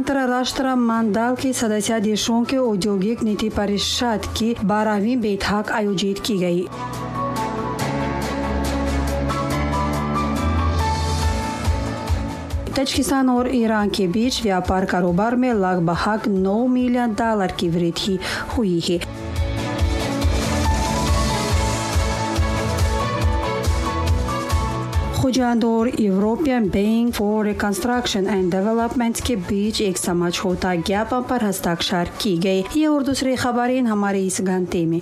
अंतर्राष्ट्रीय मंडल के सदस्य देशों के औद्योगिक नीति परिषद की 12वीं बैठक आयोजित की गई। ताजिकिस्तान और ईरान के बीच व्यापार कारोबार में लगभग 9 मिलियन डॉलर की वृद्धि हुई है। खुजांद और European Bank for Reconstruction and Development के बीच एक समझौता ज्ञापन पर हस्ताक्षर की गई। ये और दूसरी खबरें हमारे इस घंटे में।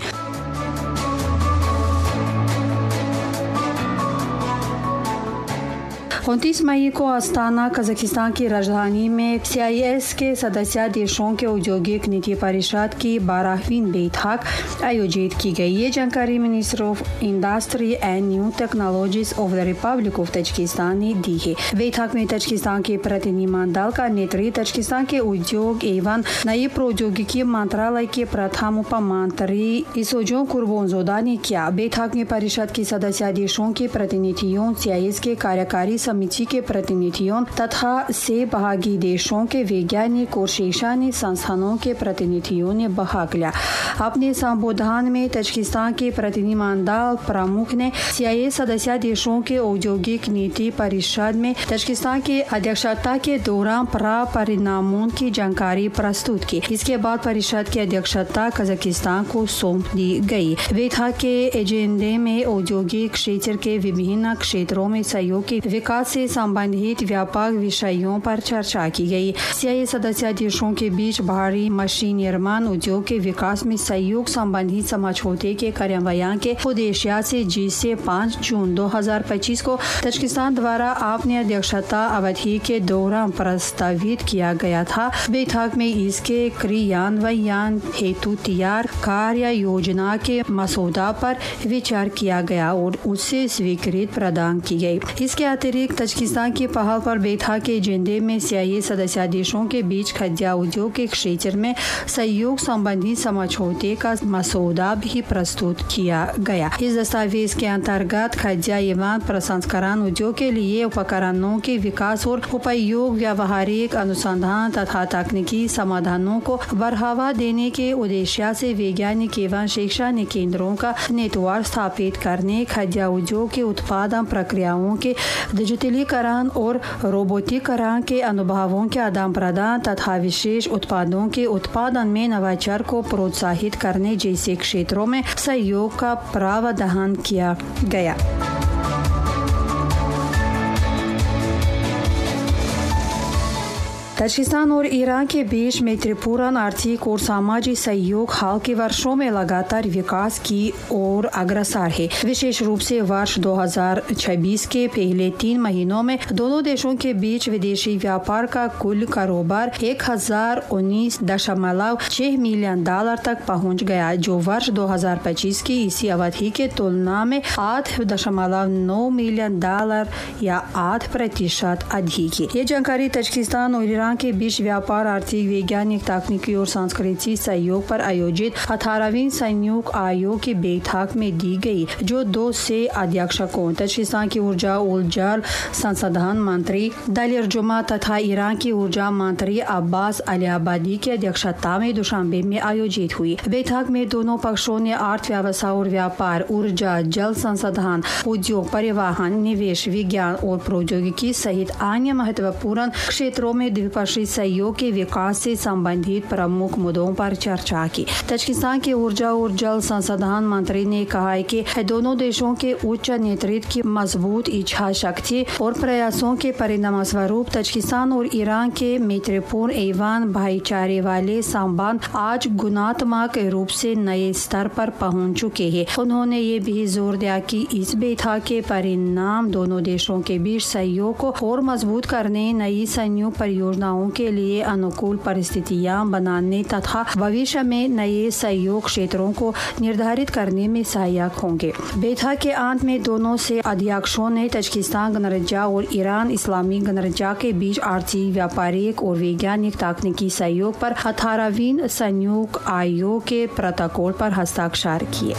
29 मई को अस्ताना कजाकिस्तान की राजधानी में CIS के सदस्य देशों के औद्योगिक नीति परिषद की 12वीं बैठक आयोजित की गई। ये जानकारी Minister of Industry and New Technologies of the Republic of Tajikistan ने दी है। बैठक में ताजिकिस्तान के प्रतिनिधिमंडल का नेतृत्व ताजिकिस्तान के उद्योग एवं नई प्रौद्योगिकी मंत्रालय के प्रथम उप मंत्री इसोजोन कुर्बोनजोदा ने किया। बैठक में परिषद के सदस्य देशों के प्रतिनिधियों, CIS के कार्यकारी समिति के प्रतिनिधियों तथा सहभागी देशों के वैज्ञानिक और शैक्षणिक संस्थानों के प्रतिनिधियों ने भाग लिया। अपने संबोधन में ताजिकिस्तान के प्रतिनिधिमंडल प्रमुख ने CIS सदस्य देशों के औद्योगिक नीति परिषद में ताजिकिस्तान की अध्यक्षता के दौरान प्राप्त परिणामों की जानकारी प्रस्तुत की। इसके बाद परिषद की अध्यक्षता कजाकिस्तान को सौंप दी गई। बैठक के एजेंडे में औद्योगिक क्षेत्र के विभिन्न क्षेत्रों में सहयोग के विकास से संबंधित व्यापक विषयों पर चर्चा की गई। CIS सदस्य देशों के बीच भारी मशीन निर्माण उद्योग के विकास में सहयोग संबंधित समझौते के कार्यान्वयन के उद्देश्य से जिसे 5 जून 2025 को ताजिकिस्तान द्वारा अपनी अध्यक्षता अवधि के दौरान प्रस्तावित किया गया था। बैठक में इसके क्रियान्वयन हेतु तैयार कार्य योजना के मसौदा पर विचार किया गया और उसे स्वीकृति प्रदान की गई। इसके अतिरिक्त ताजिकिस्तान की पहल पर बैठक के एजेंडे में CIS सदस्य देशों के बीच खाद्य उद्योग के क्षेत्र में सहयोग संबंधी समझौते का मसौदा भी प्रस्तुत किया गया। इस दस्तावेज के अंतर्गत खाद्य एवं प्रसंस्करण उद्योग के लिए उपकरणों के विकास और उपयोग, व्यावहारिक अनुसंधान तथा तकनीकी समाधानों को बढ़ावा देने के उद्देश्य से वैज्ञानिक एवं शैक्षणिक केंद्रों का नेटवर्क स्थापित करने, खाद्य उद्योग के उत्पादन प्रक्रियाओं के डिजिटलीकरण और रोबोटीकरण के अनुभवों के आदान प्रदान तथा विशेष उत्पादों के उत्पादन में नवाचार को प्रोत्साहित करने जैसे क्षेत्रों में सहयोग का प्रावधान किया गया। ताजिकिस्तान और ईरान के बीच मैत्रीपूर्ण आर्थिक और सामाजिक सहयोग हाल के वर्षों में लगातार विकास की ओर अग्रसर है। विशेष रूप से वर्ष 2026 के पहले 3 महीनों में दोनों देशों के बीच विदेशी व्यापार का कुल कारोबार 1019.6 मिलियन डॉलर तक पहुंच गया, जो वर्ष 2025 की इसी अवधि के तुलना में 8.9 मिलियन डॉलर या 8% अधिक है। ये जानकारी ताजिकिस्तान और ईरान के बीच व्यापार, आर्थिक, वैज्ञानिक, तकनीकी और सांस्कृतिक सहयोग पर आयोजित 18वीं संयुक्त आयोग की बैठक में दी गई, जो दो से अध्यक्षकों ताजिकिस्तान की ऊर्जा और जल संसाधन मंत्री दलिर जुमा तथा ईरान की ऊर्जा मंत्री अब्बास अलियाबादी की अध्यक्षता में दुशांबे में आयोजित हुई। बैठक में दोनों पक्षों ने अर्थव्यवस्था और व्यापार, ऊर्जा, जल संसाधन, उद्योग, परिवहन, निवेश, विज्ञान और प्रौद्योगिकी सहित अन्य महत्वपूर्ण क्षेत्रों में द्विपक्षीय सहयोग के विकास से संबंधित प्रमुख मुद्दों पर चर्चा की। ताजिकिस्तान के ऊर्जा और जल संसाधन मंत्री ने कहा है कि दोनों देशों के उच्च नेतृत्व की मजबूत इच्छा शक्ति और प्रयासों के परिणामस्वरूप ताजिकिस्तान और ईरान के मैत्रीपूर्ण एवं भाईचारे वाले संबंध आज गुणात्मक रूप से नए स्तर पर पहुंच चुके हैं। उन्होंने ये भी जोर दिया कि इस बैठक के परिणाम दोनों देशों के बीच सहयोग को और मजबूत करने, नई संयुक्त परियोजनाओं के लिए अनुकूल परिस्थितियां बनाने तथा भविष्य में नए सहयोग क्षेत्रों को निर्धारित करने में सहायक होंगे। बैठक के अंत में दोनों से अध्यक्षों ने ताजिकिस्तान गणराज्य और ईरान इस्लामी गणराज्य के बीच आर्थिक, व्यापारिक और वैज्ञानिक तकनीकी सहयोग पर 18वीं संयुक्त आयोग के प्रोटोकॉल पर हस्ताक्षर किए।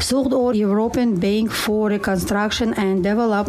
सुग़द और European Bank for Reconstruction and Development